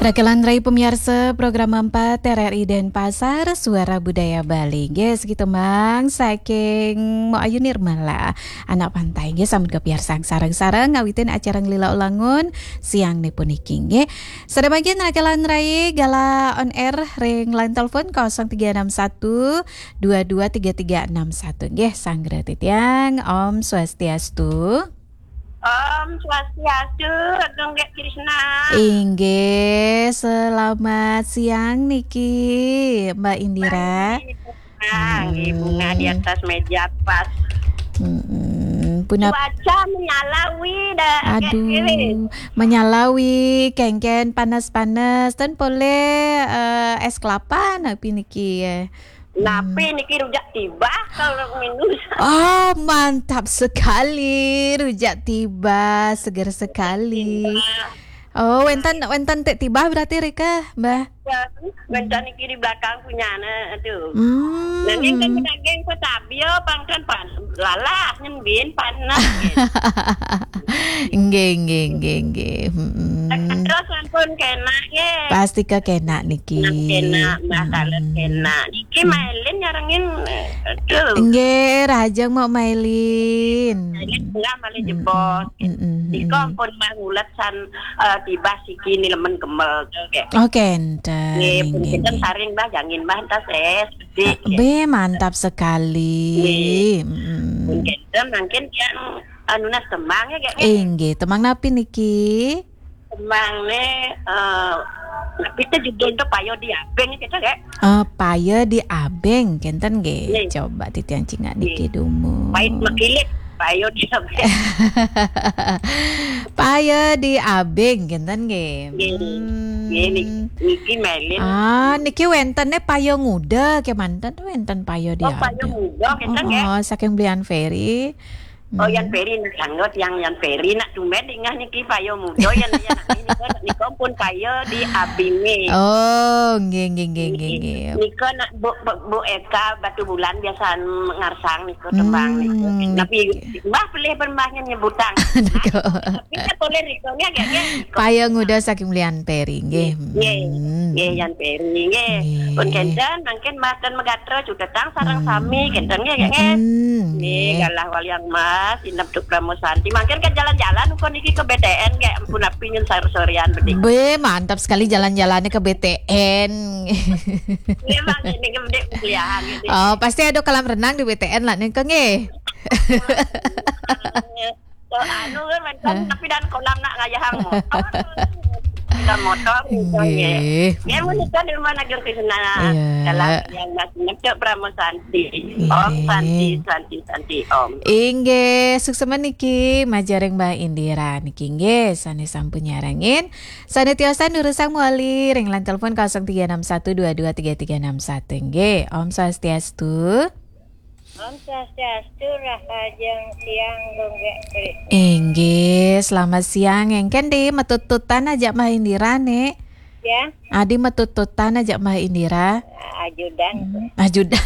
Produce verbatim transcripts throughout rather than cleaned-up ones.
Rakelan rai pemiarsa program empat R R I Denpasar, Suara Budaya Bali. Nggih, siki tembang saking Mo Ayu Nirmala, Anak Pantai. Nggih, sampun kapiarsang sareng-sareng ngawitin acara Nglila Ulangun siang niki puniki, nggih. Sada mangkin rakelan rai galah on air ring line telepon kosong tiga enam satu dua dua tiga tiga enam satu. Nggih, sanggra titiang. Om Swastiastu. Om Swastiastu, Agung Gek Krishna. Inggih, selamat siang niki, Mbak Indira. Baik, Bunga di Hmm. atas meja pas. Mm-mm. Punap- Cuaca menyalawi dah, Gek Aduh, Krishna. Menyalawi, kengken panas-panas, ten polih, eh, es kelapa napi niki, eh. Napi Hmm. niki rujak tibah kalau minum. Oh, mantap sekali. Rujak tibah, seger sekali. Tibah. Oh, wénten, wénten tik tibah berarti rika, Mbah? Ya, wénten niki di belakang punyane, aduh. Hmm. Nanging kan daging kok tabi ya, pang kan pan-, lalah nyembin panas. Nggih, nggih, nggih, nggih. Mm-mm. Terus ampun kenak, nggih. Pasti kekenak niki. Kenak, Mbah, kalau Mm-mm. kenak. Niki Hmm. mailin nyarengin, aduh. Nggih, rahajeng mau mailin. Mailin tengah malih Mm-mm. jebos. Mm-mm. Nika Mm-mm. ampun Mbah ngulet san, eh, tibah siki ni lemen kemel, nggih. Oh, kenten. Nggih, pun Nggih, kenten nggih. Saring, Mbah, jangin, Mbah, entas es, bedik, nggih. Be, mantap sekali. Nggih. Mm-mm. Pun kenten, mangkin tiang, eh, nunas tembang, ya, nggih, nggih. Inggih, tembang napi niki? Tembang ne, eh, napi te judul te Payo di Abeng, gitu, nggih. Eh, Payo di Abeng, kenten nggih. Nggih. Coba titiang cingak Nggih. niki dumun. Pait makilit, Payo di Abeng. Payo di Abeng, kenten nggih. Nggih. Hmm. Nggih, ni-, niki mailin. Ah, niki wéntene Payo Nguda kemanten, wénten Payo di Oh, Payo Abeng. Nguda, kenten nggih. Oh, oh, saking Belian Ferry. Oh, Yan Hmm. Peri, nak sanggup yang Yan Peri, nak tumben dingah niki Payo Muda, yang, yang nak ini kan, nika pun Payo di Abinge. Oh, nggih, nggih, nggih, nggih, Nggih. nggih. Nika nak Bu, Bu, Bu Eka Batu Bulan biasa ngarsang nika tembang nika. Hmm, Tapi nggih. Mbah pilih pun Mbah nyebutang. Nika. Tapi tak boleh nika, nggih, nggih, nggih. Payo Nguda saking Belian Peri, nggih. Nggih. Hmm. Nggih, Yan Peri, nggih. Nggih. Pun kenten, mangkin Mbah ten Megatra cutetang sareng Hmm. sami, kenten, nggih, nggih, nggih. Hmm, Nggih, nggih. galah waliang mas, inep tuk Pramosanti. Mangkin ke jalan-jalan, uko niki ke B T N, nggih. Ampun, api nyun sar-, sorean bedik. Be, mantap sekali jalan-jalannya ke B T N. Nggih, Mbah, ini ke bedik kuliahan, gitu. Oh, pasti ada kolam renang di B T N lah, nih, nggih. So, anu kan, kan, Hah? Tapi dan kolam nak ngayahang motor. Dan motor, Nggih. nggih. Nggih, menika di rumah Nagar Krishna. Iya. Dalam yang nak nyepcok Pramosanti. Nggih. Om Santi, Santi, Santi, Om. Inggih, suksma niki, majeng ring Mbah Indira niki, nggih, sane sampun nyarengin. Sane tiosan durusang mawali ring line telepon kosong tiga enam satu dua dua tiga tiga enam satu, nggih. Om Swastiastu. Om Swastiastu, rahajeng siang, Gung Gek Kri. Inggih, selamat siang. Engken di metututan aja Mbah Indira, nih. Ya. Adi metututan aja Mbah Indira. Ajudan. Hmm, ajudan.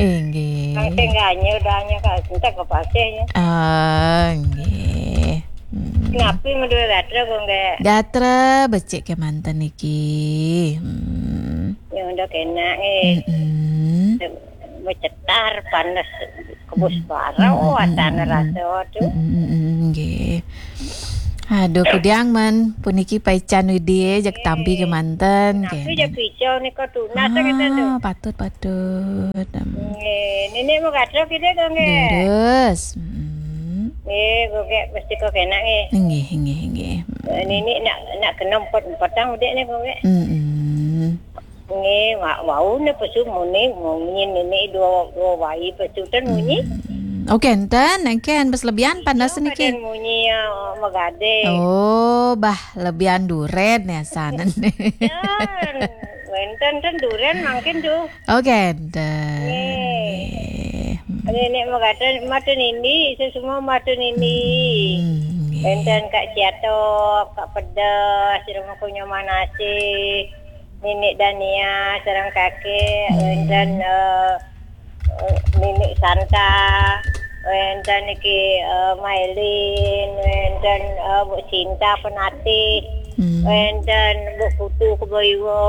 Inggih. Kang sing ganjil, udah nyekel, entek ke pasih, ya. Ah, nggih. Hmm. Napi meduwe gatra, Gung Gek? Gatra becik kemanten niki. Hmm. Ya, udah kena, eh. Mm-mm. Becetar, panas, kebus Mm-mm. bara, Mm-mm. oh, atana Mm-mm. rasa, waduh. Mm-mm. Mm-mm. Nggih. Aduh, kudiang men, puniki paican Widi, jak tampi Nggih. kemanten, Napi kenen. Jak pisau nika tunas, kita tuh. Ah, patut, patut. Hmm. Nggih, nini mau gatra kita, Gung Gek? Leres. Mm-mm. Nggih, Gung Gek, mesti kok kena, nggih. Nggih, nggih, nggih. Eh, nini nak, nak kena empat-empatang udik nih, Gung Gek. Mm-mm. Nggih, wa-, wau ne pesu muni, munyi nini dua, dua wai pesu ten munyi. Hmm. Oh, kenten, engken, bes lebihan panas Iya, niki. Padan munyi, ya, megade. Oh, bah, lebihan duren ya, sanen. Ten, wenten ten duren mangkin tuh. Oh, kenten. Nggih. Nggih. Hmm. Ada nek megade mata nini, itu semua mata nini. Hmm, nggih. Wenten Kak Ciatok, Kak Pedas, rumah kunyah manase. Nini Dania sareng kakek, Hmm. wenten, eh, eh, Nini Santa, Wénten niki, eh, Mailin, wénten, eh, Bu Sinta Penatih, Hmm. wénten Bu Putu Keboiwo,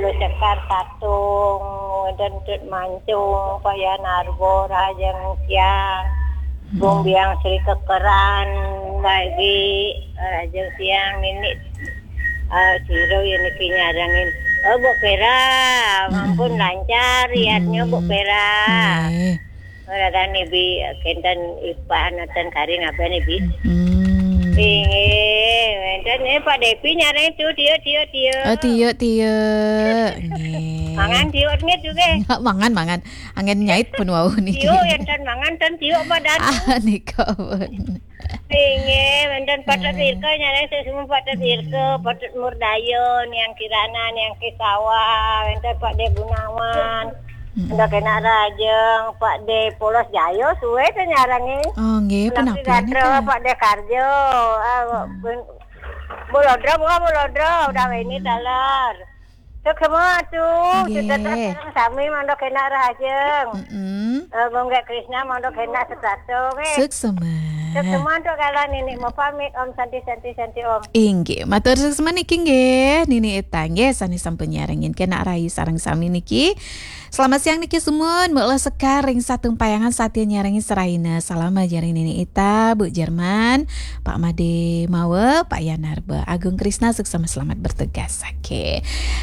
Lu Sekar Tatung, wénten Tut Mancung, Pak Yan Arbo, Rahajeng Siang, Bung Biang Sri Kekeran, Bagi, Rahajeng Siang, Nini, eh, Siro yang niki nyarengin. Oh, Bu Pera, mampun lancar, yatnya Bu Pera. Nggih. Ora kan Ibi, kenten Ipa nonton kari ngaben Ibi. Hmm. Inggih, wénten eh Pak Depi nyareng tu, tiuk, tiuk, tiuk. Oh, tiuk, tiuk. Nggih. Mangan tiuk nggih tu nggih. Mangan, mangan. Anggen nyait pun wau niki. Tiuk enten mangan ten tiuk badan. Ah, nika pun. Inggih, wénten Pak Tut Irka nyareng sesemu Pak Tut Irka, Pak Tut Murdayo, Niang Kirana, Niang Kisawa, wénten Pak De Gunawan. Ndak kena rajeng, Pak De Polos Jayo, suwe teh nyarengin. Oh, nggih, Nanti penapian Gatro, nika. Pak De Karjo, ah, Bu Lodro, Bu Lodro, udah ini taler. Suk semua tu, Nggih. Suteta sami mangda kena rajeng. Mm-mm. Eh, Gunggek Krishna mangda kena setato, nggih. Suksema. Suk semua tu kalau nini mau pamit, Om Santi, Santi, Santi, Om. Inggih, matur suksema niki nggih, Nini Ita nggih, sane sampun nyarengin kena rai sareng sami niki. Selamat siang niki sumun, Mbok Lo Sekar ring Satumpayangan satia nyarengin seraina. Salam ajaring Nini Ita, Bu Jerman, Pak Made Mawe, Pak Yanarba, Agung Krisna, suksema selamat bertugas. Oke.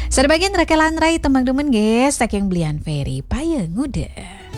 Sebagian rekelan rai tembang demen nggih, saking Belian Ferry, Paya Nguda.